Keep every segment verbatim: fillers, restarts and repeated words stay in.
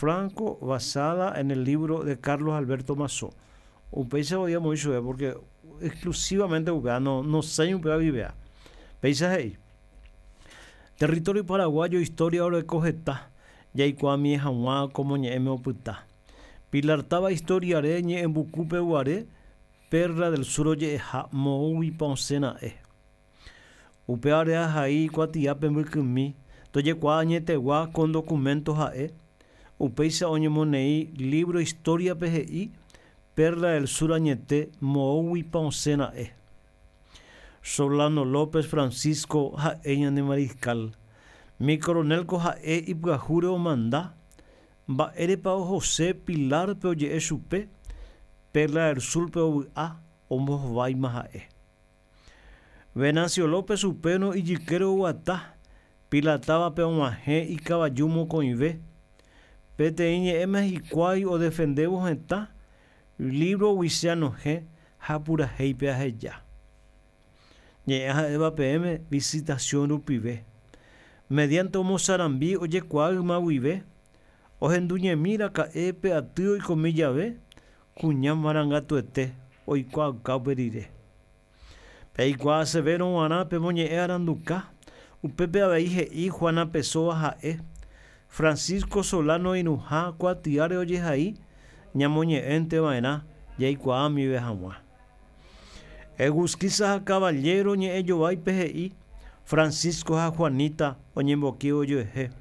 Franco, basada en el libro de Carlos Alberto Mazó. Upéicha oíamos ichupe porque exclusivamente upéva no nosẽi upéva vivea. Péicha he'i. Territorio paraguayo historia oreko heta, jaikuaamie hag̃ua ko moñe'ẽme opyta. Pilar táva historiare ñe'ẽmbukúpe guare, Perla del Sur oje'eha moõguipa osẽra'e. Upévare ahai kuatiápe mbykymi, tojekuaa añetegua con documento ha'e, upéicha oñemoneĩ libro historiape he'i Perla del Sur añete moõguipa osẽra'e. Solano López Francisco ha'e ñane mariscal. Mi coronel ko ha'e ipyahúre omanda, mba'érepa ohose Pilarpe oje'e chupe, Perla del Surpe ovy'a ombohováima ha'e. Venancio López upérõ ijykére oguata, Pilar távape og̃uahẽ ikavaju mokõive. Peteĩ ñe'ẽme hikuái odefendévo hetã, libro che anohẽ ha purahéipe aheja. Ñe'ẽ ha'éva peẽme visitación rupive. Mediante omosarambi ojekuaa yma guive, ohenduñemi raka'e pe aty oikomi jave, kuña marangatuete oikuaauka upe rire. Peikuaa sevérõ g̃uarã pemoñe'ẽ aranduka, upépe avei he'i Juana Pesoa ha'e, Francisco Solano irũha kuatiáre ojehai ñamoñe'ẽnteva'erã jaikuaamive hag̃ua. Egusquiza ha Caballero ñe'ẽjováipe he'i Francisco ha Juanita oñemboki ojoehe.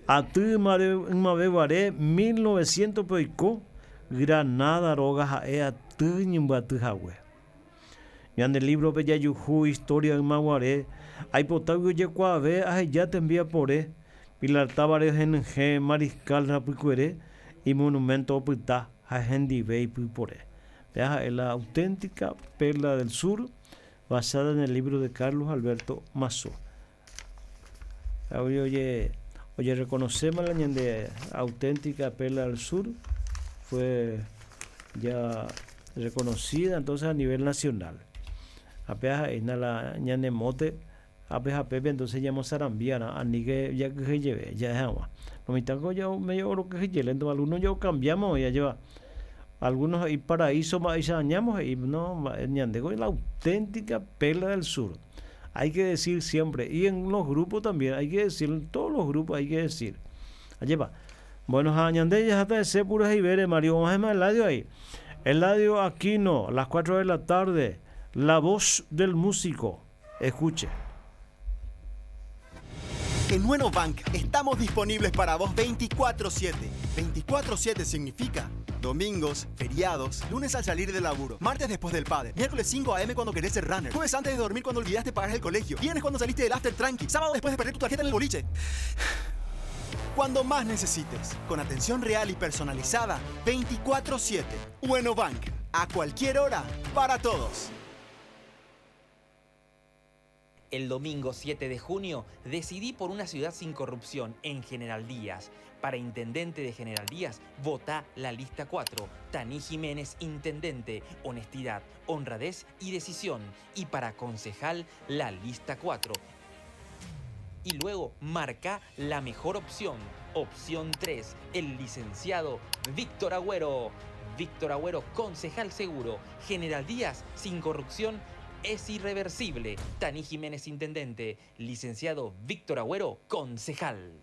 Aty ymaveguare mil novecientos pe oiko Granada róga ha'e aty ñembyatyhague. Ñande librope jajuhu historia ymaguare aipotágui ojekuaave aheja tembiapore Pilar távare henyhẽ Mariscal rapykuere y monumento opyta ha hendive ipypore. Péa ha'e la auténtica Perla del Sur basada en el libro de Carlos Alberto Mazó. Oye, oye, reconocemos la ñande auténtica Perla del Sur, fue ya reconocida entonces a nivel nacional. Apenas la ñane mote, apenas pepe entonces ya mozarambia, ani que ya que lleve, ya es agua. Lo mitad ya medio oro que lleve, entonces algunos ya cambiamos, ya lleva. Algunos y paraíso más y y no, ñande la auténtica Perla del Sur. Hay que decir siempre, y en los grupos también, hay que decir, en todos los grupos hay que decir. Allí va. Bueno, ñande ya está ese puro Ibere, Mario, vamos a Eladio ahí. Eladio Aquino, a las cuatro de la tarde, la voz del músico. Escuche. En Bueno Bank estamos disponibles para vos veinticuatro siete. veinticuatro siete significa domingos, feriados, lunes al salir del laburo, martes después del padre, miércoles cinco a eme cuando querés ser runner, jueves antes de dormir cuando olvidaste pagar el colegio, viernes cuando saliste del after tranqui, sábado después de perder tu tarjeta en el boliche. Cuando más necesites, con atención real y personalizada, veinticuatro siete. Bueno Bank, a cualquier hora, para todos. El domingo siete de junio decidí por una ciudad sin corrupción en General Díaz. Para intendente de General Díaz, vota la lista cuatro. Tani Jiménez, intendente. Honestidad, honradez y decisión. Y para concejal, la lista cuatro. Y luego marca la mejor opción. Opción tres, el licenciado Víctor Agüero. Víctor Agüero, concejal seguro. General Díaz, sin corrupción, es irreversible. Tani Jiménez, intendente. Licenciado Víctor Agüero, concejal.